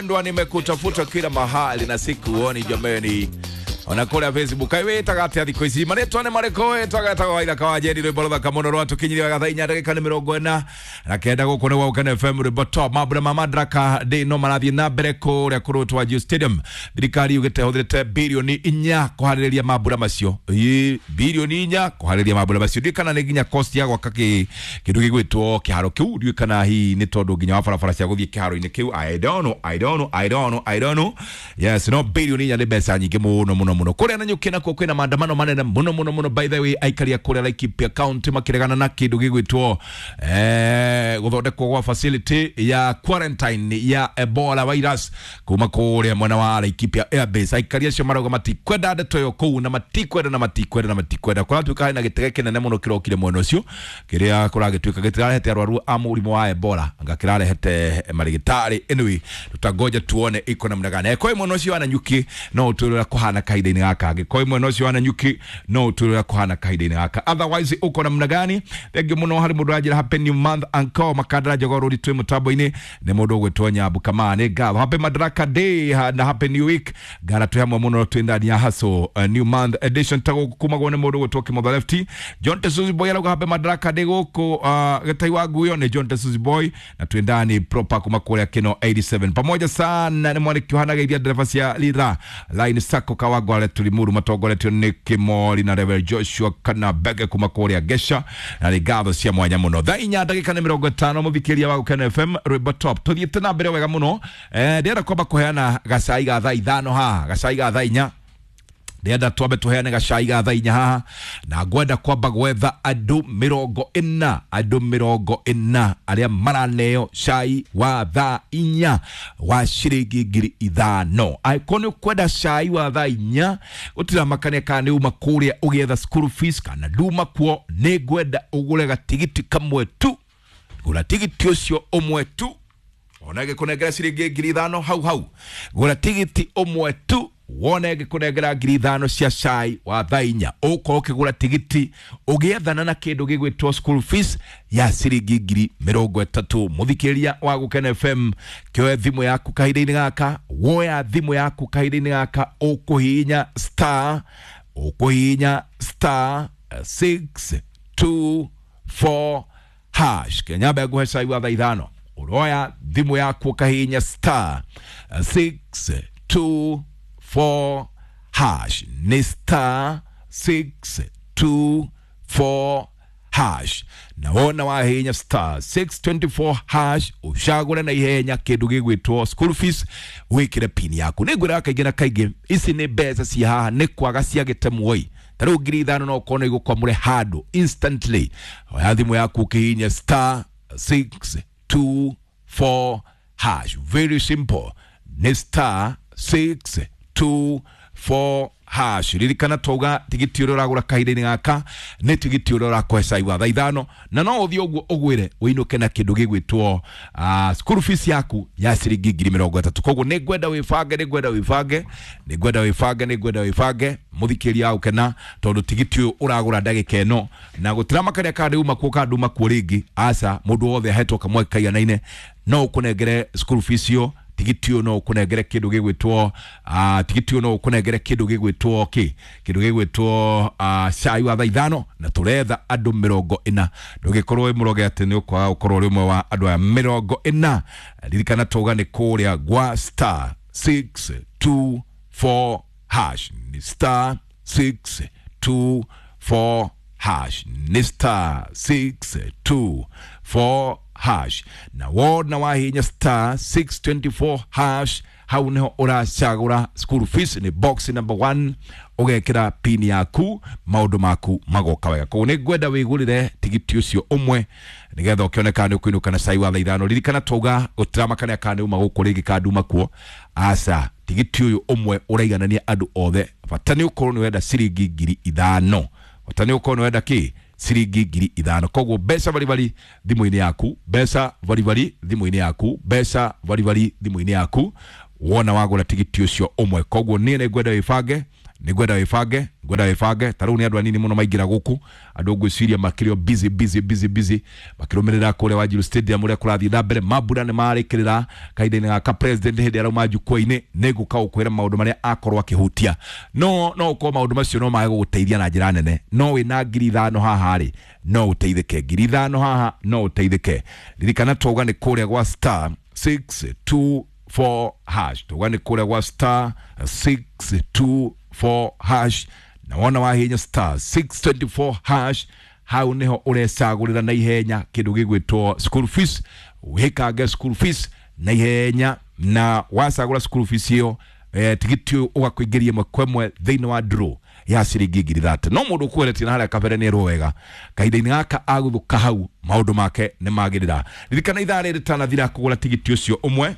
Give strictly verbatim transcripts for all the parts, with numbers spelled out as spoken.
Mpendwa, nimekutafuta kila mahali na sikuoni jameni. Ona kũrĩa Facebook kaĩ wĩtaga atĩa thikũ ici? Marĩtwa nĩ marĩkũ wĩtaga? Etaga Waithaka wa Njeri. Rwĩmbo rũthaka mũno rwatũkinyirie wega thaa inya ndagĩka nĩ mĩrongo ĩna na kenda. Gũkũ nĩ gwa F M, rwĩmbo top. Mambura ma Madaraka Day no marathiĩ na mbere kũrĩa kũrũtwa G Stadium. Thirikari yugĩte ĩhũthĩrĩte birioni inya kũharĩrĩria mambura macio. Ĩ, birioni inya kũharĩrĩria mambura macio, ndiũĩ kana nĩ nginya cost ya gwaka kĩ kĩndũ gĩgwĩtwo kĩharo kĩu. Ndiũĩ kana hihi nĩ tondũ nginya wa barabara cia gũthiĩ kĩharo-inĩ kĩu. I don't know, I don't know, I don't know, I don't know. Yes, no birioni inya nĩ mbeca nyingĩ mũno mũno mũno. Kũrĩa Nanyuki nakuo kwĩna maandamano manene mũno mũno mũno. By the way, aikari a kũrĩa Laikipia County makĩregana na kĩndũ gĩgwĩtwo eh, gũthondekwo gwa facility ya quarantine ya Ebola virus kuma kũrĩa mwena wa Laikipia Airbase. Aikari acio marauga matikwenda ndeto ĩyo kũu, na matikwenda, na matikwenda, na matikwenda. Kũratuĩka hena gĩtege kĩnene mũno kĩrokire mwena ũcio, kĩrĩa kũragĩtuĩka gĩtirarehete arwaru a mũrimũ wa Ebola, anga kĩrarehete marigitari. Anyway, tutangoja tuone iko namna gani. Kwa mwena ũcio wa Nanyuki no ũtwĩre ũrĩa kũhana kahinda-inĩ gaka. Angĩkorwo mwena ũcio wa Nanyuki no ũtwĩre ũrĩa kũhana kahinda-inĩ gaka, otherwise uko namna gani? Thengiũ mũno harĩ mũndũ ũranjĩra happy new month, uncle Makandara Jogoo Rũri. Twĩ mũtambo-inĩ nĩ mũndũ ũgwĩtwo Nyambu Kamaa. Nĩ ngatho. Happy Madaraka Day na happy new week. Ngara twĩ hamwe mũno, twĩ ndani ya hustle, uh, new month edition ta gũkũ kumagwo nĩ mũndũ ũgwĩtwo Kimotho Lefty. John Tesuzi Boy arauga happy Madaraka Day gũkũ uh, gĩtai wa nguyo nĩ John Tesuzi Boy, na twĩ ndani proper kuma kũrĩa Kino eighty-seven pamoja sana. Nĩ mwanĩki ũhanageithia ndereba cia Lira Line Sacco Kawangware Tulimuru, matongoretio nĩ Kimori na Reverend Joshua kana Bege kuma kũrĩa Gesha, na nĩ ngatho cia mwanya mũno. Thaa inya ndagĩka nĩ mĩrongo ĩtano, mũthikĩria wa Gũkena F M, rwĩmbo top. Tũthiĩte na mbere wega mũno. eh, ndĩrenda kwamba kũheana gacai ga thaa ithano haha, gacai ga thaa inya. Ndĩrenda twambe tũheane gacai ga thaa inya haha, na ngwenda kwamba gwetha andũ mĩrongo ĩna, andũ mĩrongo ĩna arĩa maraneo cai wa thaa inya wa ciringi ngiri ithano. Angĩkorwo nĩ ũkwenda cai wa thaa inya, gũtiramakania kana nĩ uma kũrĩa ũgĩetha school fees kana nduma kuo, nĩ ngwenda ũgũre gatigiti kamwe tu. Gũra tigiti ũcio ũmwe tu, wone ngĩkũnengera ciringi ngiri ithano hau hau. Gũra tigiti ũmwe tu, wone ngĩkũnengera ngiri ithano cia cai wa thaa inya. Ũkorwo ũkĩgũra tigiti ũgĩethana na kĩndũ gĩgwĩtwo school fees ya ciringi ngiri mĩrongo ĩtatũ. Mũthikĩria wa Gũkena F M, kĩoe thimũ yaku kahinda-inĩ gaka. Woya thimũ yaku kahinda-inĩ gaka, ũkũhihinya star, ũkũhihinya star six two four hash. Kenyamba nguhe cai wa thaa ithano. Ũroya thimũ yaku ũkahihinya star six two four hash, nĩ star six two four hash. Na wona wahihinya star six twenty-four hash, ũcagũre na ihenya kĩndũ gĩgwĩtwo school fees, wĩkĩre pin yaku. Nĩ ngwĩraga kaingĩ na kaingĩ, ici nĩ mbeca ci haha nĩ kwaga ciagĩte muoi. Ta rĩu ngiri ithano no ũkorwo nĩ igũkwamũre handũ instantly. Oya thimũ yaku ũkĩhihinya star six two four hash, very simple, nĩ star six two four hash. Ririkana twauga tigiti ũrĩa ũragũra kahinda-inĩ gaka nĩ tigiti ũrĩa ũrakũhe cai wa thaa ithano, na no ũthiĩ ũguo ũgwĩre ũinũke na kĩndũ gĩgwĩtwo uh, school fees yaku ya ciringi ngiri mĩrongo ĩtatũ. Koguo nĩ ngwenda wĩbange, nĩ ngwenda wĩbange, nĩ ngwenda wĩbange, nĩ ngwenda wĩbange, mũthikĩria wa Gũkena, tondũ tigiti ũyũ ũragũra ndagĩka ĩno na gũtiramakania kana ndĩuma kuo kana nduma kuo rĩngĩ. Aca, mũndũ wothe ahetwo kamweke kaiganaine. No ũkũnengere school fees ĩyo. Tigiti ũyũ no ũkũnengere kĩndũ gĩgwĩtwo uh, tigiti ũyũ no ũkũnengere kĩndũ gĩgwĩtwo kĩ kĩndũ gĩgwĩtwo uh, cai wa thaa ithano, na tũretha andũ mĩrongo ĩna. Ndũgĩkorwo wĩ mũroge atĩ nĩ ũkwaga gũkorwo ũrĩ ũmwe wa andũ aya mĩrongo ĩna. Ririkana tauga nĩ kũrĩa gwa star six two four hash, nĩ star six two four hash, nĩ star six two four hash. Na wona wahinya star six twenty-four hash, hau niho ũracagũra school fees, nĩ box number one, ũgekĩra pin yaku, maũndũ maku magoka wega. Koguo nĩ ngwenda wĩgũrĩre tigiti ũcio ũmwe nĩgetha ũkĩoneka nĩ ũkũinũka na cai wa thaa ithano. Ririkana twauga gũtiramakania kana nĩ uma gũkũ rĩngĩ kana nduma kuo. Aca, tigiti ũyũ ũmwe ũraiganania andũ othe. Bata nĩ ũkorwo nĩ wenda ciringi ngiri ithano, bata nĩ ũkorwo nĩ wenda kĩ ciringi ngiri ithano. Koguo mbeca baribari thimũ-inĩ yaku, mbeca baribari thimũ-inĩ yaku, mbeca baribari thimũ-inĩ yaku wona wagũra tigiti ũcio ũmwe. Koguo niĩ nĩ ngwenda wĩbange. Nĩ ngwenda wĩbange, ngwenda wĩbange. Ta rĩu nĩ andũ anini mũno maingĩra gũkũ, andũ ngwĩciria makĩrĩ o busy busy busy busy makĩrũmĩrĩra kũrĩa Wanjiru Stadium ũrĩa kũrathiĩ na mbere. Mambura nĩ marĩkĩrĩra kahinda-inĩ gaka president hĩndĩ arauma jukwaa-inĩ, nĩ ngũka gũkwĩra maũndũ marĩa akorwo akĩhutia. No no ũkorwo maũndũ macio no mage gũgũteithia na njĩra nene, no wĩna ngiri ithano haha rĩ, no ũteithĩke. Ngiri ithano haha no ũteithĩke. Ririkana twauga nĩ kũrĩa gwa star six two four hash, twauga nĩ kũrĩa gwa star six two four hash, na wona wahinya star six twenty four hash, hau niho ũrecagũrĩra na ihenya kĩndũ gĩgwĩtwo school fees. Wĩkange school fees na ihenya, na wacagũra school fees ĩyo, eh, tigiti ũyũ ũgakũingĩria ĩmwe kwa ĩmwe thĩinĩ wa draw ya ciringi ngiri thate. No mũndũ ũkweretie na harĩa kabere nĩ erwo wega, kahinda-inĩ gaka agũthũka hau maũndũ make nĩ magĩrĩra. Ririkana ithaa rĩrĩ rĩtanathira kũgũra tigiti ũcio ũmwe,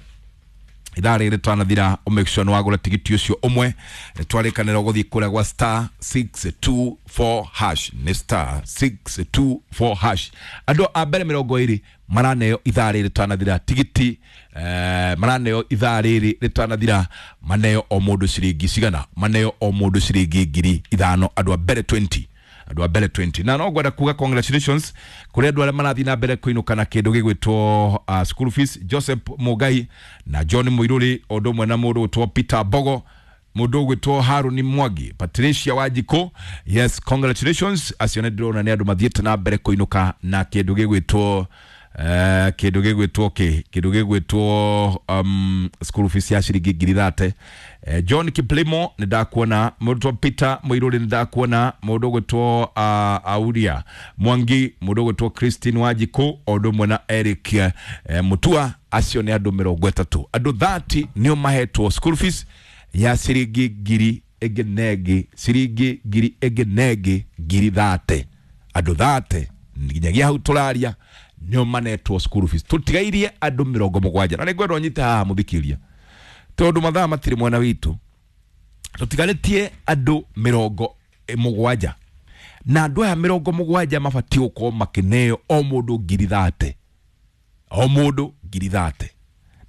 ithaa rĩrĩ rĩtanathira ũ make sure nĩ wagũra tigiti ũcio ũmwe. Twarĩkanĩra gũthiĩ kũrĩa gwa star six two four hash, nĩ star six two four hash. Andũ a mbere mĩrongo ĩrĩ maraneo ithaa rĩrĩ rĩtanathira tigiti, eh, maraneo ithaa rĩrĩ rĩtanathira, maneo o mũndũ ciringi cigana, maneo o mũndũ ciringi ngiri ithano, andũ a mbere twenty, andũ a mbere twenty. Na no ngwenda kuga congratulations kũrĩ andũ arĩa marathiĩ na mbere kũinũka na kĩndũ gĩgwĩtwo uh, school fees, Joseph Mugai na John Muiruri, o ũndũ ũmwe na mũndũ ũgwĩtwo Peter Bogo, mũndũ ũgwĩtwo Haruni Mwangi, Patricia Wanjikũ. Yes, congratulations. Acio nĩ ndĩrona nĩ andũ mathiĩte na mbere kũinũka na kĩndũ gĩgwĩtwo eh, kĩndũ gĩgwĩtwo kĩ kĩndũ gĩgwĩtwo um, school fees ya ciringi ngiri thate. Eh, John Kiplimo nĩ ndakuona, mũndũ Peter Muiruri nĩ ndakuona, mũndũ ũgwĩtwo uh, Auria Mwangi, mũndũ ũgwĩtwo Christine Wanjikũ, o ũndũ ũmwe na Eric eh, Mutua. Acio nĩ andũ mĩrongo ĩtatũ, andũ thirty nĩo mahetwo school fees ya ciringi ngiri ĩngĩ na ĩngĩ, ciringi ngiri ĩngĩ na ĩngĩ ngiri thate, andũ thate nginyagia hau tũraria nĩo manetwo school fees. Tũtigairie andũ mĩrongo mũgwanja, na nĩngwenda ũnyite haha mũthikĩria, tondũ mathaa matirĩ mwena witũ. Tũtigarĩtie andũ mĩrongo mũgwanja, na andũ aya mĩrongo mũgwanja mabatiĩ gũkorwo makĩneo o mũndũ ngiri thate, o mũndũ ngiri thate.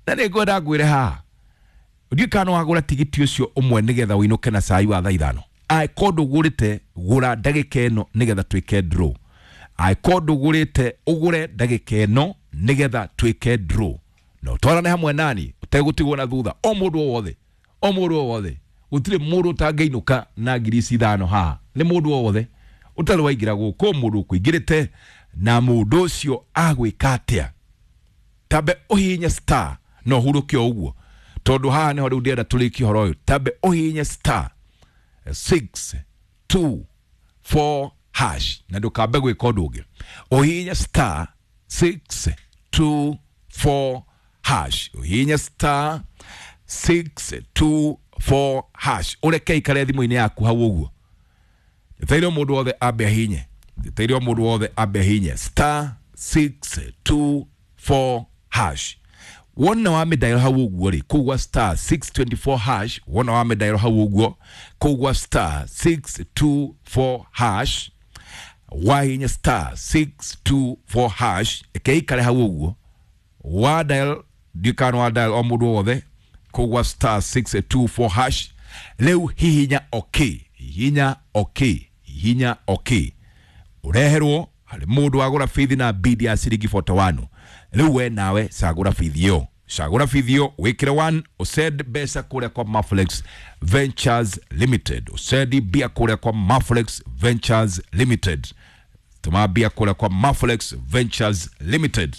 Na nĩngwenda ngwĩre haha, ndiũĩ kana nĩwagũra tigiti ũcio ũmwe nĩgetha ũinũke na cai wa thaa ithano. Angĩkorwo ndũgũrĩte, gũra ndagĩka ĩno nĩgetha twĩke draw. Angĩkorwo ndũgũrĩte, ũgũre ndagĩka ĩno nĩgetha twĩke draw, na ũtwarane hamwe nani ũtegũtigwo na thutha. O mũndũ o wothe, o mũndũ o wothe, gũtirĩ mũndũ ũtangĩinũka na ngiri ici ithano haha, nĩ mũndũ o wothe ũtarĩ waingĩra gũkũ, mũndũ ũkũingĩrĩte na mũndũ ũcio agwĩka atĩa. Tambe ũhihinye star na ũhurũke o ũguo, tondũ haha nĩho rĩu ndĩrenda tũrĩkie ũhoro ũyũ. Tambe ũhihinye star six two four hash na ndũkambe gwĩka ũndũ ũngĩ. Ũhihinye star six two four hash, ũhihinye star six two four hash, ũreke ikare thimũ-inĩ yaku hau ũguo. Njetereire mũndũ wothe ambe ahihinye, njetereire mũndũ wothe ambe ahihinye star six two four hash. Wona wa mĩdairo hau ũguo rĩ, kũu gwa star six twenty four hash, wona wa mĩdairo hau ũguo, kũu gwa star six two four hash, wahihinya star six two four hash, ĩke ikare hau ũguo, wa dial, ndiũĩ kana wa dial o mũndũ wothe, kũu gwa star six two four hash. Rĩu hihinya okay, hihinya okay, hihinya okay, ũreherwo harĩ mũndũ wagũra bithi na bidi ya ciringi forty one. Rĩu we nawe cagũra bithi ĩyo, cagũra bithi ĩyo wĩkĩre one, ũsend mbeca kũrĩa kwa Maflex Ventures Limited, ũsendi mbia kũrĩa kwa Maflex Ventures Limited, tũma mbia kũrĩa kwa Maflex Ventures Limited,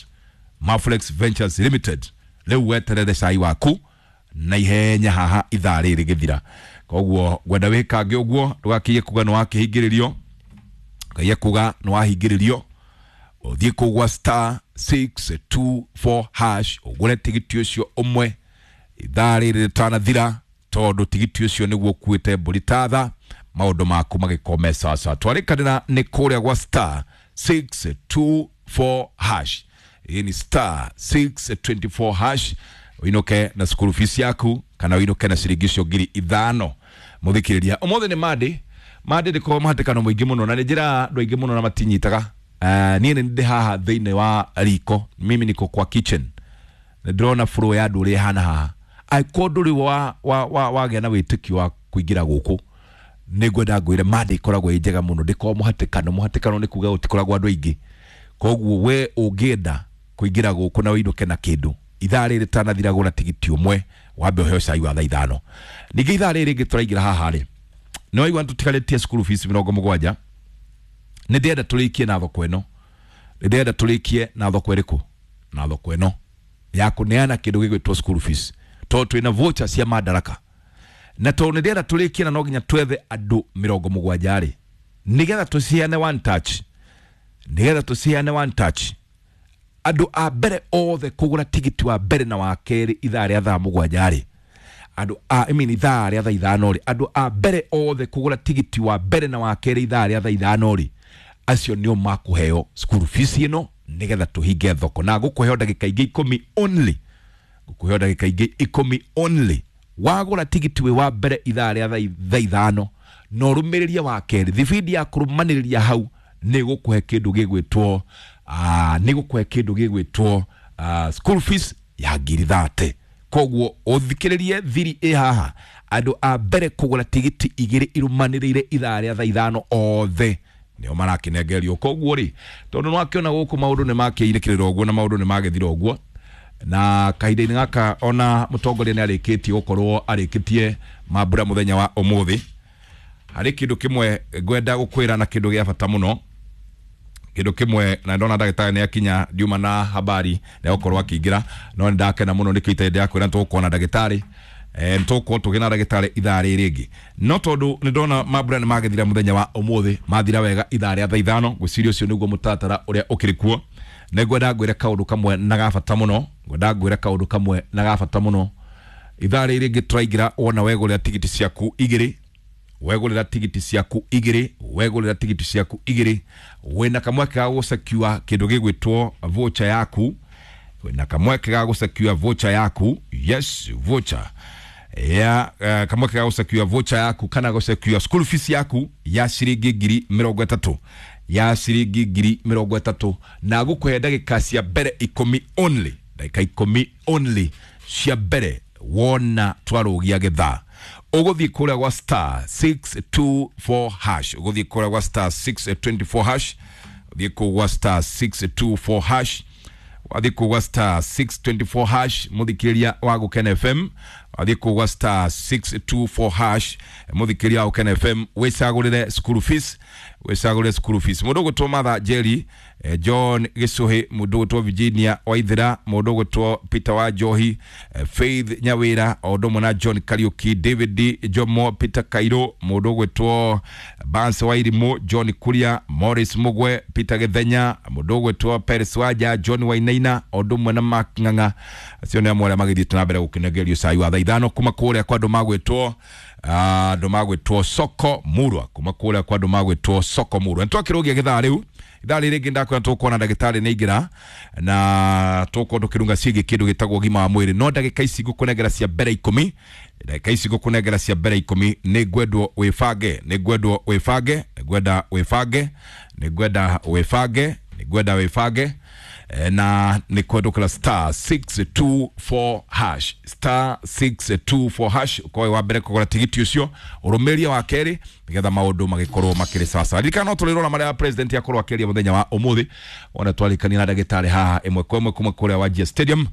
Maflex Ventures Limited. Rĩu weterere cai waku na ihenya haha ithaa rĩrĩ gĩthira. Koguo ngwenda wĩkange ũguo, ndũgakiye kuga nĩ wakĩhingĩrĩrio, ndũkaige kuga nĩ wahingĩrĩrio. Ũthiĩ kũu gwa star six two four hash ũgũre tigiti ũcio ũmwe ithaa rĩrĩ rĩtanathira, tondũ tigiti ũcio nĩguo ũkuĩte mbũri ta tha, maũndũ maku magĩkorwo me sawasawa. Twarĩkanĩra nĩ kũrĩa gwa star six two four hash, hii ni star six twenty four hash, ũinũke na school fees yaku kana ũinũke na ciringi icio ngiri ithano. Mũthikĩrĩria, ũmũthĩ nĩ Monday, Monday ndĩkoragwo mũhatĩkano mũingĩ mũno, na nĩ njĩra andũ aingĩ mũno na matinyitaga. Uh, niĩ nĩ ndĩ haha thĩinĩ wa riko, mimi niko kwa kitchen, nĩ ndĩrona flow ya andũ ũrĩa ĩhana haha. Angĩkorwo ndũrĩ wa, wa, wa, wagĩa na wĩtĩkio wa kũingĩra gũkũ, Nĩ ngwenda ngwĩre Monday ĩkoragwo ĩ njega mũno, ndĩkoragwo mũhatĩkano. Mũhatĩkano nĩ kuga gũtikoragwo andũ aingĩ. Koguo we ũngĩenda kũingĩra gũkũ na ũinũke na kĩndũ ithaa rĩrĩ rĩtanathira, gũra tigiti ũmwe wambe ũheo cai wa thaa ithano. Ningĩ ithaa rĩrĩ rĩngĩ tũraingĩra haha rĩ, nĩ waigua tũtigarĩtie school fees mĩrongo mũgwanja. Nĩ ndĩrenda tũrĩkie na thoko ĩno, nĩ ndĩrenda tũrĩkie na thoko ĩrĩkũ? Na thoko ĩno ya kũneana kĩndũ gĩgwĩtwo school fees, tondũ twĩna voucher cia Madaraka, na tondũ nĩ ndĩrenda tũrĩkie na no nginya twethe andũ mĩrongo mũgwanja rĩ, nĩgetha tũciheane one touch, nĩgetha tũciheane one touch. Andũ a mbere othe kũgũra tigiti wa mbere na wa kerĩ ithaa rĩa thaa mũgwanja rĩ, andũ a, I mean, ithaa rĩa thaa ithano rĩ, andũ a mbere othe kũgũra tigiti wa mbere na wa kerĩ ithaa rĩa thaa ithano rĩ, acio nĩo makũheo school fees ĩno, nĩgetha tũhinge thoko. Na ngũkũheo ndagĩka ingĩ ikũmi only, ngũkũheo ndagĩka ingĩ ikũmi only. Wagũra tigiti wĩ wa mbere ithaa rĩa thaa ithano na ũrũmĩrĩrie wa kerĩ, thibindi ya kũrũmanĩrĩria hau nĩ gũkũhe kĩndũ gĩgwĩtwo uh, nĩ gũkũhe kĩndũ gĩgwĩtwo uh, school fees ya ngiri thate. Koguo ũthikĩrĩrie thiri ĩ haha, andũ a mbere kũgũra tigiti igĩrĩ irũmanĩrĩire ithaa rĩa thaa ithano othe nĩo marakĩnengerio. Koguo rĩ, tondũ nĩwakĩona gũkũ maũndũ nĩ makĩirĩkĩrĩra ũguo na maũndũ nĩ magĩthira ũguo, na kahinda-inĩ gaka ona mũtongoria nĩ arĩkĩtie gũkorwo arĩkĩtie mambura mũthenya wa ũmũthĩ. Harĩ kĩndũ kĩmwe ngwenda gũkwĩra na kĩndũ gĩa bata mũno, kĩndũ kĩmwe, na ndona ndagĩtarĩ nĩ akinya, ndiuma na habari nĩ gũkorwo akĩingĩra, no nĩ ndakena mũno nĩkĩo itarĩ ndĩrakwĩra nĩtũgũkorwo na ndagĩtarĩ, eh, nĩtũgũkorwo tũgĩ na ndagĩtarĩ ithaa rĩrĩ rĩngĩ. No tondũ nĩ ndona mambura nĩ magĩthira mũthenya wa ũmũthĩ, mathira wega ithaa rĩa thaa ithano, ngwĩciria ũcio nĩguo mũtaratara ũrĩa ũkĩrĩ kuo. Nĩ ngwenda ngwĩre kaũndũ kamwe na ga bata mũno, ngwenda ngwĩre kaũndũ kamwe na ga bata mũno. Ithaa rĩrĩ rĩngĩ tũraingĩra, wona wegũrĩra tigiti ciaku igĩrĩ, wegũrĩra tigiti ciaku igĩrĩ, wegũrĩra tigiti ciaku igĩrĩ, wĩna kamweke ga gũsecure kĩndũ gĩgwĩtwo voucher yaku, wĩna kamweke ga gũsecure voucher yaku, yes, voucher ya uh, kamweke ga gũsecure voucher yaku kana gũsecure school fees yaku ya ciringi ngiri mĩrongo ĩtatũ, ya ciringi ngiri mĩrongo ĩtatũ, na gũkũhe ndagĩka cia mbere ikũmi only, ndagĩka ikũmi only cia mbere wona twarũgia gĩthaa. Ũgũthiĩ kũrĩa gwa star six two four hash, ũgũthiĩ kũrĩa gwa star six twenty four hash, ũthiĩ kũu gwa star six two four hash, wathiĩ kũu gwa star six twenty four hash, mũthikĩrĩria wa Gũkena F M, wathiĩ kũu gwa star six two four hash, mũthikĩrĩria wa Gũkena F M, wĩcagũrĩre school fees, wĩcagũrĩre school fees. Mũndũ ũgwĩtwo Martha Njeri, eh, John Gĩcũhĩ, mũndũ ũgwĩtwo Virginia Waithera, mũndũ ũgwĩtwo Peter wa Njohi, eh, Faith Nyawĩra, o ũndũ ũmwe na John Kariuki, David Jomo, Peter Kairũ, mũndũ ũgwĩtwo Barnes Wairimũ, John Kuria, Morris Mugwe, Peter Gĩthenya, mũndũ ũgwĩtwo Peres Wanja, John Wainaina, o ũndũ ũmwe na Mark Ng'ang'a. Acio nĩ amwe arĩa magĩthiĩte na mbere gũkĩnengerio cai wa thaa ithano kuma kũrĩa kwa andũ magwĩtwo, andũ magwĩtwo Soko Murwa, kuma kũrĩa kwa andũ magwĩtwo Soko Murwa. Nĩtwakĩrũgia gĩthaa rĩu, ithaa rĩrĩ rĩngĩ ndakwĩra tũkuona ndagĩtarĩ nĩ aingĩra na tũgũkorwo tũkĩrunga ciĩgiĩ kĩndũ gĩtagwo ũgima wa mwĩrĩ. No ndagĩka ici ngũkũnengera cia mbere ikũmi, ndagĩka ici ngũkũnengera cia mbere ikũmi, nĩ ngwendwo wĩbange, nĩ ngwendwo wĩbange, nĩ ngwenda wĩbange, nĩ ngwenda wĩbange, nĩ ngwenda wĩbange, na nĩ kwendũkĩra star six two four hash, star six two four hash, ũkorwo wĩ wa mbere kũgũra tigiti ũcio, ũrũmĩrĩrie wa kerĩ, nĩgetha maũndũ magĩkorwo makĩrĩ sawa. Ririkana no tũrĩrora marĩa president akorwo akĩaria mũthenya wa ũmũthĩ, wona twarĩkania na ndagĩtarĩ haha ĩmwe kwa ĩmwe kuma kũrĩa Wajir Stadium.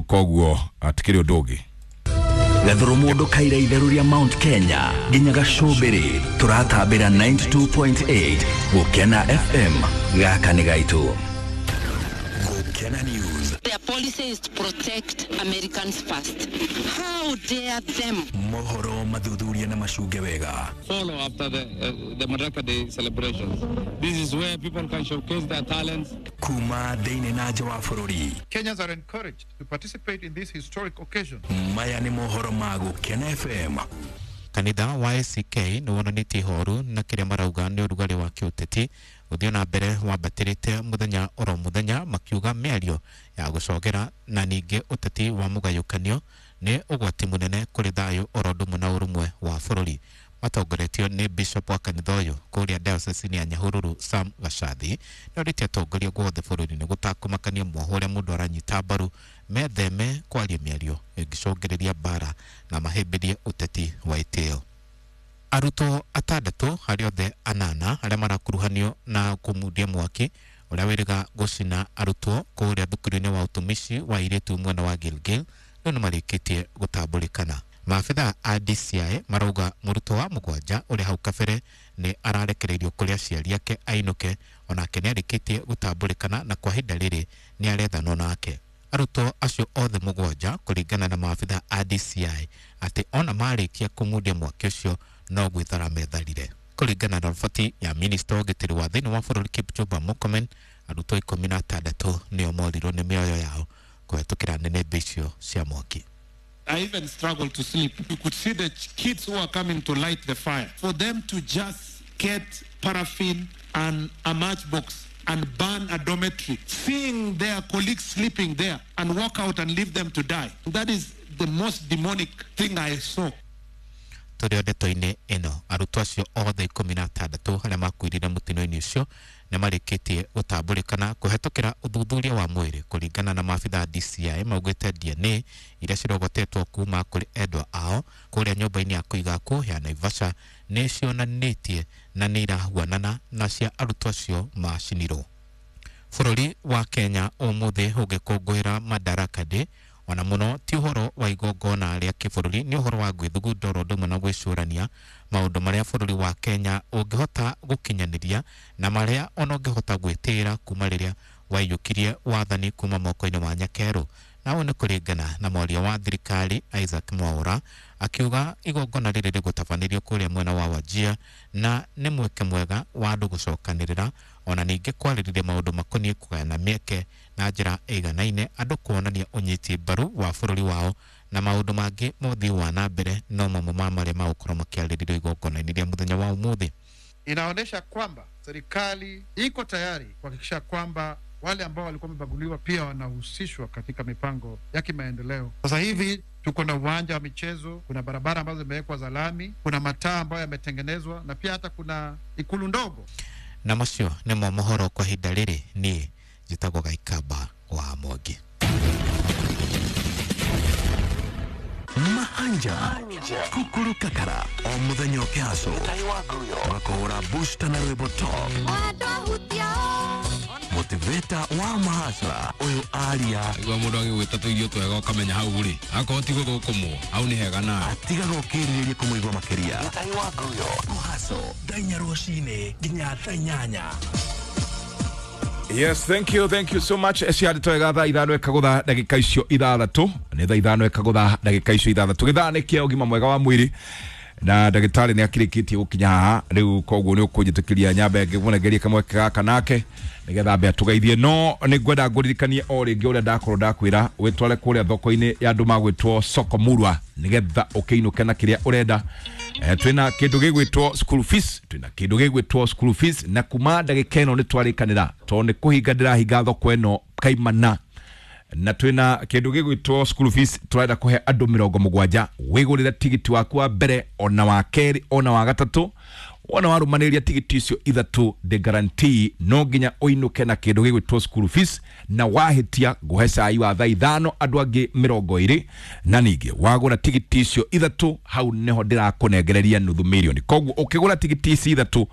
Koguo atikĩrĩ ũndũ ũngĩ. Gathuru mundu kaira itheru ria Mount Kenya nginya gacumbiri turatambira ninety two point eight Gukena F M gaka ni gaitu. Gukena News. Their policy is to protect Americans first. How dare them? Mohoro mathuthuria na macunge wega. Follow after the, uh, the Madaraka Day celebrations. This is where people can showcase their talents. Kuma thiini na nja wa bururi. Kenyans are encouraged to participate in this historic occasion. Maya ni mohoro ma Gukena F M. Kanitha wa A C K nĩ wonanĩtie ihoru na kĩrĩa marauga nĩ ũrugarĩ wa kĩũteti gũthiĩ na mbere wambatĩrĩte mũthenya oro mũthenya, makiuga mĩario ya gũcogera na ningĩ ũteti wa mũgayũkanio nĩ ũgwati mũnene kũrĩ thayũ oro ũndũ ũmwe na ũrũmwe wa bũrũri. Matongoretio nĩ Bishop wa kanitha ũyũ kũrĩa diocese ya Nyahururu Sam Gacathi nĩ orĩtie atongoria guothe bũrũri-inĩ gũtakũmakania mwoho ũrĩa mũndũ aranyita mbaru metheme kwaria mĩario ĩngĩcũngĩrĩria mbara na mahĩmbĩrie ũteti wa itĩo. Arutwo atandatũ harĩ othe anana arĩa marakuruhanio na kũmundia mwaki ũrĩa wĩrĩga gũcina arutwo kũrĩa thukuru-inĩ wa ũtumishi wa airĩtu mwena wa Gilgil rĩu nĩ marĩkĩtie gũtambũrĩkana. Maabitha a D C I marauga mũrutwo wa mũgwanja ũrĩa hau kabere nĩ ararekereirio kũrĩ aciari ake ainũke, onake nĩ arĩkĩtie gũtambũrĩkana na kwa ihinda rĩrĩ nĩ arethanwo nake. Arutwo acio othe mũgwanja kũringana na maabitha a D C I atĩ ona marĩkia kũmundia mwaki ũcio no gwĩthara metharire. Kũringana na riboti ya minista wa ũgitĩri wa thĩinĩ wa bũrũri Kipchumba Murkomen, arutwo ikũmi na atandatũ nĩo morirwo nĩ mĩoyo yao kũhetũkĩra nĩnĩmbĩ icio cia mwaki. I even struggled to sleep. You could see the kids who are coming to light the fire. For them to just get paraffin and a matchbox and burn a dormitory, seeing their colleagues sleeping there and walk out and leave them to die. That is the most demonic thing I saw. Tũrĩ o ndeto-inĩ ĩno, arutwo acio othe ikũmi na atandatũ arĩa makuĩrire mũtino-inĩ ũcio nĩ marĩkĩtie gũtambũrĩkana kũhetũkĩra ũthuthuria wa mwĩrĩ. Kũringana na maabitha a D C I maugĩte D N A iria cirogotetwo kuma kũrĩ endwa ao kũrĩa nyũmba-inĩ ya kũiga akuũ ya Naivasha nĩ cionanĩtie na nĩ irahuanana na cia arutwo acio macinirwo. Bũrũri wa Kenya ũmũthĩ ũgĩkũngũĩra Madaraka Day, ona mũno ti ũhoro wa igongona rĩa kĩbũrũri, nĩ ũhoro wa gwĩthugunda oro ũndũ ũmwe na gwĩcũrania maũndũ marĩa bũrũri wa Kenya ũngĩhota gũkinyanĩria na marĩa ona ũngĩhota gwĩtĩĩra kuma rĩrĩa waiyũkirie wathani kuma moko-inĩ ma Nyakerũ. Na ũũ nĩ kũringana na mwaria wa thirikari Isaac Mwaura akiuga igongona rĩrĩ rĩgũtabanĩrio kũrĩa mwena wa Wajir na nĩ mweke mwega wa andũ gũcokanĩrĩra ona ningĩ kwarĩrĩria maũndũ makoniĩ kũgayana mĩeke na njĩra ĩiganaine, andũ kuonania ũnyiti mbaru wa bũrũri wao na maũndũ mangĩ ma ũthii wa na mbere no mamwe ma marĩa magũkorwo makĩarĩrĩrio igongona-inĩ rĩa mũthenya wa ũmũthĩ. Inaonyesha kwamba serikali iko tayari kuhakikisha kwamba wale ambao walikuwa wamebaguliwa pia wanahusishwa katika mipango ya kimaendeleo. Sasa hivi tuko na uwanja wa michezo, kuna barabara ambazo zimewekwa za lami, kuna mataa ambayo yametengenezwa na pia hata kuna ikulu ndogo. Na macio nĩmo mohoro kwa ihinda rĩrĩ, niĩ njĩtagwo Gaikamba wa Mwangi. Mahanja kukuru kakara o muthenya ũkĩhaco makũhũra booster na rwĩmbo top motivator wa mahasra ũyũ aria igua mũndũ agĩgwĩta tũirio twega ũkamenya hau rĩ akorwo ti gũthũkũmwo hau nĩ hega nawe atigaga ũkĩrirĩria kũmũigua makĩria. Mũhaco thaa inya rũcinĩ nginya thaa inyanya. Yes, thank you, thank you so much. Eci twega thaa ithano ĩkagũtha ndagĩka icio ithathatũ, nĩ thaa ithano ĩkagũtha ndagĩka icio ithathatũ. Gĩthaa nĩ kĩa ũgima mwega wa mwĩrĩ na ndagĩtarĩ nĩ akĩrĩkĩtie gũkinya haha rĩu, koguo nĩ ũkũnjĩtĩkĩria nyambe ngĩmũnengerie kamweke gaka nake nĩgetha ambe atũgeithie. No nĩ ngwenda ngũririkanie o rĩngĩ ũrĩa ndakorwo ndakwĩra wĩtware kũrĩa thoko-inĩ ya andũ magwĩtwo Soko Murwa nĩgetha ũkĩinũke na kĩrĩa ũrenda. Eh, twĩna kĩndũ gĩgwĩtwo school fees, twĩna kĩndũ gĩgwĩtwo school fees na kuma ndagĩka ĩno nĩ twarĩkanĩra tondũ nĩ kũhinga ndĩrahinga thoko ĩno kaimana, na twĩna kĩndũ gĩgwĩtwo school fees tũrenda kũhe andũ mĩrongo mũgwanja. Wĩgũrĩre tigiti waku wa mbere ona wa kerĩ ona wa gatatũ, wona warũmanĩrĩria tigiti icio ithatũ the guarantee no nginya ũinũke na kĩndũ gĩgwĩtwo school fees, na wahĩtia ngũhe cai wa thaa ithano andũ angĩ mĩrongo ĩrĩ, na ningĩ wagũra tigiti icio ithatũ hau nĩho ndĩrakũnengereria nuthu mirioni. Koguo ũkĩgũra tigiti ici ithatũ,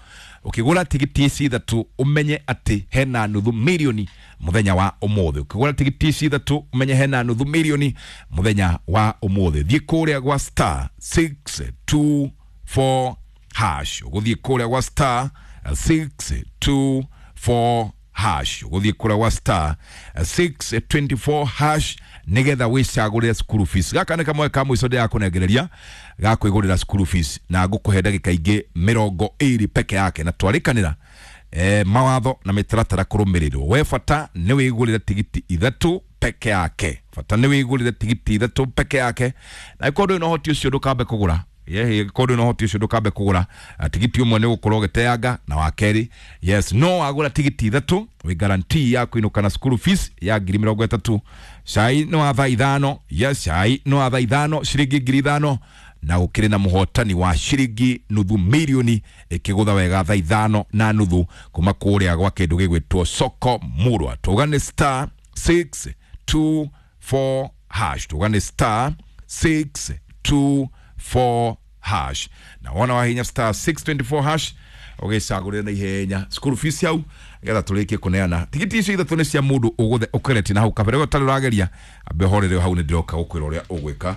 ũkĩgũra tigiti ici ithatũ ũmenye atĩ hena nuthu mirioni mũthenya wa ũmũthĩ. Ũkĩgũra tigiti ici ithatũ ũmenye hena nuthu mirioni mũthenya wa ũmũthĩ. Thiĩ kũrĩa gwa star six two four hash, ũgũthiĩ kũrĩa gwa star six two four hash, ũgũthiĩ kũrĩa gwa star six twenty four hash nĩgetha wĩcagũrĩre school fees. Gaka nĩ kamwe ka mũico ndĩrakũnengereria ga kwĩgũrĩra school fees, na ngũkũhe ndagĩka ingĩ mĩrongo ĩrĩ peke yake, na twarĩkanĩra eh, mawatho na mĩtaratara kũrũmĩrĩrwo. We bata nĩ wĩgũrĩre tigiti ithatũ peke yake, bata nĩ wĩgũrĩre tigiti ithatũ peke yake, na ĩkorwo ndũrĩ na ũhoti ũcio ndũkambe kũgũra. Yehe kodo no hoti ũcio ndũkambe kũgũra tigiti ũmwe nĩ gũkorwo ũgĩteanga na wa kerĩ yes, no wagũra tigiti ithatũ wĩ guarantee ya kũinũka na school fees ya ngiri mĩrongo ĩtatũ. Cai nĩ wa thaa ithano, yes, cai nĩ wa thaa ithano ciringi ngiri ithano, na gũkĩrĩ na mũhotani wa ciringi nuthu mirioni ĩkĩgũtha wega thaa ithano na nuthu kuma kũrĩa gwa kĩndũ gĩgwĩtwo Soko Murwa. Tũgane star six two four hash, tũgane star six two four hash na wona wahinya star six twenty-four hash ũgĩcagũrĩre na ihenya school fees yau getha tũrĩkie kũneana tigiti icio ithatũ nĩ cia mũndũ ũgũthe ũkereti na hau kabere we ũtarĩ ũrageria ambe ũhorere hau nĩ ndĩroka gũkwĩra ũrĩa ũgwĩka.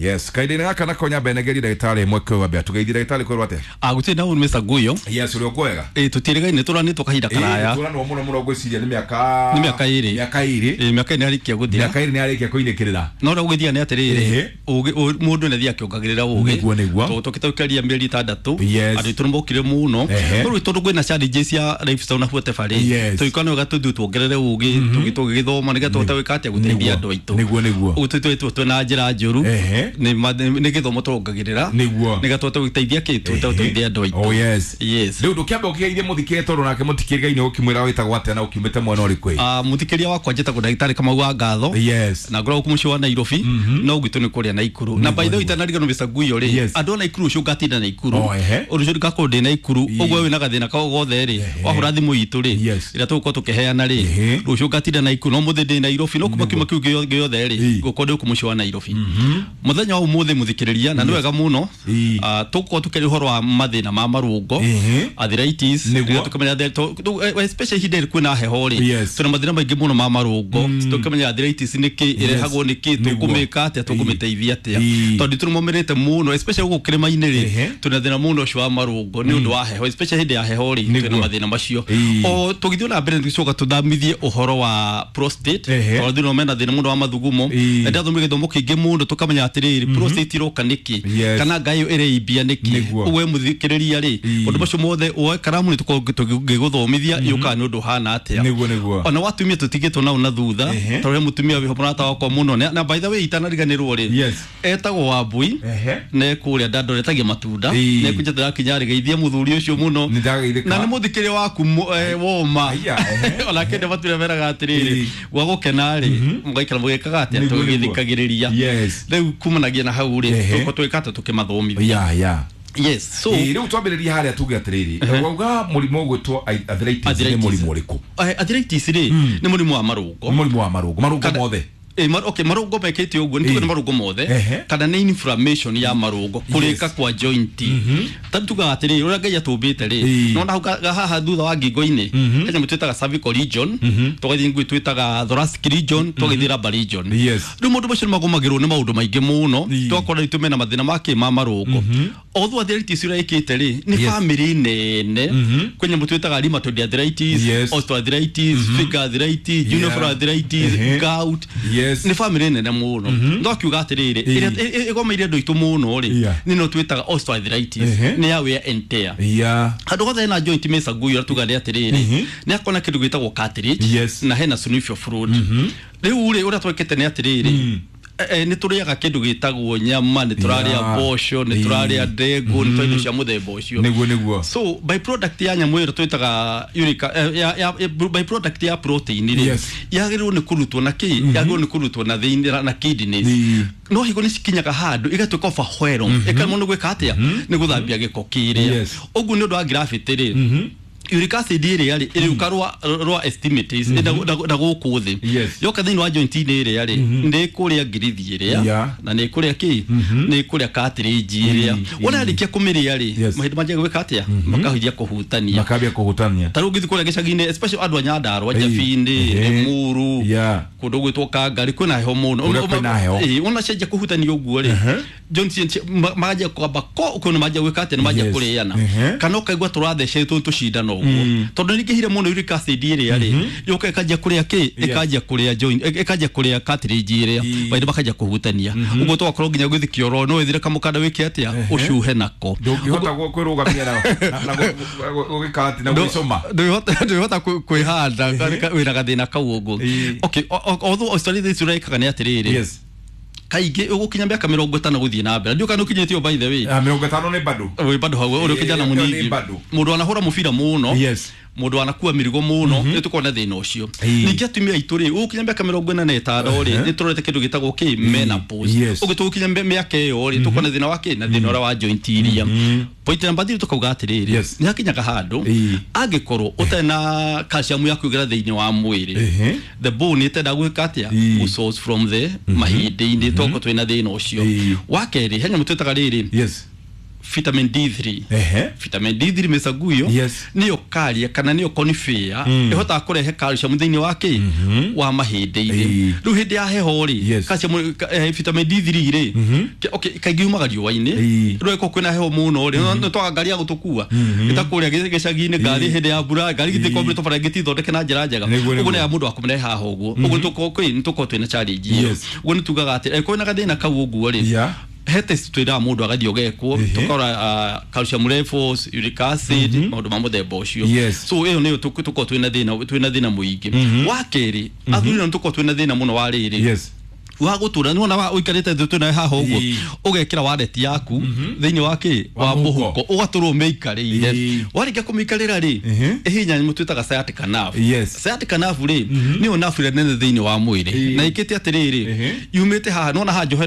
Yes, kahinda-inĩ gaka nako nyambe negerie ndagĩtarĩ ĩmwe kwĩ wambe atũgeithie ndagĩtarĩ kwĩrwo atĩa? Ah, gũtirĩ na ũru Mister Guyo. Yes, ũrĩ ũkwega? Ĩ tũtirĩgaine tũranĩtwo kahinda karaya. Ĩ tũranwo mũno mũno ngwĩciria nĩ mĩaka nĩ mĩaka ĩrĩ. Mĩaka ĩrĩ. Ĩ mĩaka ĩrĩ nĩarĩkia gũthira. Mĩaka ĩrĩ nĩarĩkia kũinĩkĩrĩra. No ũrĩa ũgũgĩthiaga nĩ atĩrĩrĩ, ũgĩ mũndũ nĩathiaga akĩongagĩrĩra ũgĩ. Nĩguo nĩguo. Tondũ tũkĩtũkaria mĩeri ĩtandatũ, Yes. andũ aitũ nĩmokire mũno. Ehe. No rĩu tondũ kwĩna challenges cia lifestyle na whatever rĩ, Yes. tũgĩkorwo nĩ wega tũthiĩ tuongerere ũgĩ, tũgĩ tũgĩgĩthoma nĩgetha tũhote gwĩka atĩa gũteithia andũ aitũ. Nĩguo nĩguo. Ũguo tũtũĩtwo twĩna njĩra njũru. Ehe. Nĩ ma- nĩ gĩthomo tũrongagĩrĩra. Nĩguo. Nĩgetha tũhote gũteithia kĩ, tũhote gũteithia andũ aitũ. Oh yes. Yes. Rĩu ndũkĩambe ũkĩgeithie mũthikĩria tondũ nake mũtikĩrĩgaine ũkĩmwĩra wĩtagwo atĩa na ũkiumĩte mwena ũrĩkũ ĩ? Ah, mũthikĩria wakwa njĩtagwo ndagĩtarĩ Kamau wa Ngatho. Yes. Na ngoragwo mũciĩ wa Nairobi, no gwitũ nĩ kũrĩa Naikuru. Na by the way itanariganĩrwo Mister Guyo rĩ, Yes. andũ a Naikuru ũcio ngatinda Naikuru. Oh, ehe. Ũndũ ũcio ngakorwo ndĩ Naikuru, ũguo wĩna gathĩna kao gothe rĩ, wahũra thimũ itũ rĩ, Yes. ĩrĩa tũgũkorwo tũkĩheana rĩ, Ehe. rũciũ ngatinda Naikuru, no mũthĩ ndĩ Nairobi, no kuma kiumia kĩu gĩo- gĩothe rĩ, Ĩ. ngũkorwo ndĩ gũkũ mũciĩ wa Nairobi. Mũthenya wa ũmũthĩ mũthikĩrĩria, na nĩ wega mũno, Ĩ. ah, tũgũkorwo tũkĩaria ũhoro wa mathĩna ma marũngo, Ehe. arthritis, Nĩguo. rĩrĩa tũkĩmenya atĩ tũ- tũ- eh, especially ihinda rĩrĩ kwĩna heho rĩ, Yes. twĩna mathĩna maingĩ mũno ma marũngo, tũkĩmenya arthritis nĩ kĩ, ĩrehagwo nĩ kĩ, Nĩguo. tũkũmĩka atĩa, tũkũmĩteithia atĩa, Ĩ. tondũ tũrĩmomĩrĩte mũno especially gũkũ kĩrĩma-inĩ rĩ, Ehe. twĩna thĩna mũno ũcio wa marũngo nĩ ũndũ wa heho, especially hĩndĩ ya heho rĩ, Nĩguo. twĩna mathĩna macio. Ĩ. O tũgĩthiĩ na mbere nĩtũgĩcoka tũthamithie ũhoro wa prostate, Ehe. tondũ thĩna mena thĩna mũno wa mathugumo. Ĩ. Na ndathomire gĩthomo kĩingĩ mũno tũkamenya atĩrĩrĩ, prostate ĩroka nĩkĩ, Yes. kana ngai ĩyo ĩreimbia nĩkĩ. Nĩguo. Ũguo mũthikĩrĩria rĩ, Ĩ. ũndũ macio mothe woe karamu nĩtũkorwo tũgĩgũthomithia yũkaga nĩ ũndũ ũhana atĩa. Nĩguo nĩguo. Ona watumia tũtigĩtwo nao na thutha, Ehe. tondũ he mũtumia wĩho mũrata wakwa mũno, na na by the way itanariganĩrwo rĩ, Yes. etagwo Wambui, Ehe. na kũrĩa Dandora etagia matunda, Ĩ. na ekunjete ndakinya rĩgeithia mũthuri ũcio mũno, Nĩndageithĩka. na nĩ mũthikĩrĩria waku mũ- eh, woma. Aya, ehe. Onake nĩ matunda meraga atĩrĩrĩ, Ĩ. gwa gũkena rĩ, mũgaikara mũgĩkaga atĩa, Nĩguo, nĩguo. tũgĩthikagĩrĩria. Yes. Rĩu kumanagia na hau rĩ, Ehe. tũkorwo twĩka atĩa tũkĩmathomithia. Ya ya. Yes, so Ĩ, rĩu twambĩrĩrie harĩa tuge atĩrĩrĩ, wauga mũrimũ ũgwĩtwo arthritis nĩ Arthritis. mũrimũ ũrĩkũ? Eh, arthritis rĩ, nĩ mũrimũ wa marũngo. Nĩ mũrimũ wa marũngo, marũngo Kana- mothe. Eh, mar, okay, marũngo mekĩte ũguo nĩ tuge Ĩ. nĩ marũngo mothe, Ehe. kana nĩ inflammation ya marũngo, kũrĩka kwa joint. Ta tugaga atĩrĩrĩ, ũrĩa Ngai atũmbĩte rĩ, Ĩ. nona hau ga- haha thutha wa ngingo-inĩ, he nyamũ twĩtaga cervical region, tũgathiĩ ngui twĩtaga thoracic region, tũgathiĩ lumbar region. Yes. Rĩu maũndũ macio nĩ magũmagĩrwo nĩ maũndũ maingĩ mũno, Ĩ. tũgakora rĩu mena mathĩna ma kĩ ma marũngo. Although arthritis ũrĩa ĩkĩte rĩ, nĩ Yes. family nene, kwĩ nyamũ twĩtaga rheumatoid arthritis, Yes. osteoarthritis, finger arthritis, junior Yeah. arthritis, Ehe. gout. Yes. Nĩ family nene mũno. No akiuga atĩrĩrĩ, ĩrĩa ĩ- ĩ- ĩgomeire andũ aitũ mũno rĩ, Yeah. nĩ ĩno twĩtaga osteoarthritis, Ehe. nĩ ya wear and tear. Ya. Handũ hothe hena joint Mister Guyo tuga nĩ atĩrĩrĩ, nĩ akona kĩndũ gĩtagwo cartilage, Yes. na hena synovial fluid. Rĩu rĩ, ũrĩa twĩkĩte nĩ atĩrĩrĩ, eh, nĩ tũrĩaga kĩndũ gĩtagwo nyama, nĩ tũrarĩa Yeah. mboco, nĩ tũrarĩa ndengũ, nĩ tũrarĩa indo cia mũthemba ũcio. Nĩguo nĩguo. So by product ya nyamũ ĩyo twĩtaga uric, eh, ya, ya, by product ya protein rĩ, Yes. yagĩrĩirwo nĩ kũrutwo na kĩ, yagĩrĩirwo nĩ kũrutwo na thĩinĩ na kidneys. Ĩ. No higo nĩ cikinyaga handũ igatuĩka overwhelm, ĩkaremwo nĩ gwĩka atĩa, nĩ gũthambia gĩko kĩrĩa. Yes. Ũguo nĩ ũndũ wa gravity rĩ, uric acid ĩrĩa rĩ, ĩrĩũka rwa rwa estimates na na gũkũ thĩ, Yes. yoka thĩinĩ wa joint-inĩ ĩrĩa rĩ, nĩ ĩkũrĩa ngirithi ĩrĩa, Yeah. na nĩ ĩkũrĩa kĩ, nĩ ĩkũrĩa cartilage ĩrĩa. Wona yarĩkia kũmĩrĩa rĩ, Yes. mahinda manjia gwĩka atĩa, makahithia kũhutania. Makambia kũhutania. Ta rĩu ũngĩthiĩ kũrĩa gĩcagi-inĩ, especially andũ a Nyandarua, Ĩ. Njabi-inĩ, Ehe. Limuru, Yeah. kũndũ gwĩtwo Kangari kwĩna heho mũno. Kũrĩa kwĩna heho. Ĩ, wona cenjia kũhutania ũguo rĩ, joint cia- ma- manjia kwamba ko ũkona manjia gwĩka atĩa, nĩ manjia Yes. kũrĩana. Ehe. Kana ũkaigua tũrathecetwo tũcindano ũguo, tondũ nĩ ingĩhire mũno uric acid ĩrĩa rĩ, yũka ĩkanjia kũrĩa kĩ, ĩkanjia kũrĩa joint, ĩ- ĩkanjia kũrĩa cartilage ĩrĩa, mahinda makanjia kũhutania. Ũguo tũgakorwo nginya gũthiĩ kĩoro, no wĩthire kamũkanda wĩke atĩa, ũcuhe nako. Ndũngĩhota gũ- kwĩrũgamia na na- na gũ- gũ- gũgĩka atĩ na gwĩcũma. Ndũngĩhota kwĩhanda wĩna gathĩna kau ũguo. Ĩ. Okay, o- o- although osteoarthritis ũrĩa ĩkaga nĩ atĩrĩrĩ, Yes. kaingĩ ũgũkinya mĩaka mĩrongo ĩtano gũthiĩ na mbere, ndiũĩ kana ũkinyĩtio by the way. Ah, mĩrongo ĩtano nĩ bado. Wĩ bado hau ũrĩ kijana Ĩ, ĩyo nĩ mũnini, bado. mũndũ anahũra mũbira mũno, Yes. mũndũ anakua mĩrigo mũno, nĩ tũkorwo na thĩna ũcio. Ĩ. Ningĩ atumia aitũ rĩ, ũgũkinya mĩaka mĩrongo ĩna na ĩtano rĩ, nĩ tũrorete kĩndũ gĩtagwo kĩ, menopause. Yes. Ũguo tũgũkinya mĩ- mĩaka ĩyo rĩ, tũkorwo na thĩna wa kĩ, na thĩna ũrĩa wa joint iria. Point number three tũkauga atĩrĩrĩ, Yes. nĩ hakinyaga handũ Ĩ. angĩkorwo ũtarĩ na calcium ya kũingĩra thĩinĩ wa mwĩrĩ, Ehe. the bone ĩtenda gwĩka atĩa, Ĩ. gũ source from the mahĩndĩ-inĩ, tokorwo twĩna thĩna ũcio. Ĩ. Wa kerĩ, he nyamũ twĩtaga rĩrĩ, Yes. vitamin D three. Ehe. Vitamin D three mĩcaguyo Yes. nĩyo karia kana nĩyo conifera ĩhotaga kũrehe calcium thĩinĩ wa kĩ wa mahĩndĩ-inĩ. Ĩĩ. Rĩu hĩndĩ ya heho rĩ, Yes. calcium ka- eh, vitamin D three rĩ, ke- okay, kaingĩ yumaga riũa-inĩ. Ĩĩ. Rĩu ĩkorwo kwĩna heho mũno rĩ, nĩ twaga ngari ya gũtũkua ĩta kũrĩa gĩ- gĩcagi-inĩ, ngari hĩndĩ ya mbura ngari gĩtikwambĩrĩtwo bara gĩtithondeke na njĩra njega. Nĩguo, Ũguo nĩguo. nĩ ya mũndũ wa kũmĩrehe haha ũguo. Ũguo nĩ tũkorwo kwĩ- nĩ tũkorwo twĩna challenge ĩyo. Yes. Ũguo nĩ tugaga atĩ angĩkorwo wĩna gathĩna kau ũguo rĩ, Yeah. he test twĩraga mũndũ agathiĩ ũgekwo, Ehe. tũkarora uh, calcium levels, uric acid, maũndũ ma mũthemba ũcio. Yes. So ĩyo nĩyo tũk- tũkoragwo twĩna thĩna twĩna thĩna mũingĩ. Wa kerĩ, athuri nao nĩtũkoragwo twĩna thĩna mũno wa rĩrĩ Yes. wa gũtũra nĩwona wa ũikarĩte thĩ twĩnawe haha ũguo, Ĩĩ. ũgekĩra wallet yaku thĩinĩ wa kĩ Wa wa mũhuko. mũhuko, ũgatũrwo ũmĩikarĩire. Ĩĩ. Warĩkia kũmĩikarĩra rĩ, Ehe. ĩhinya nyamũ twĩtaga sciatic nerve. Yes. Sciatic nerve rĩ, nĩyo nerve ĩrĩa nene thĩinĩ wa mwĩrĩ Ĩĩ. na ĩkĩte atĩrĩrĩ, Ehe. yumĩte haha nĩwona haha njohero.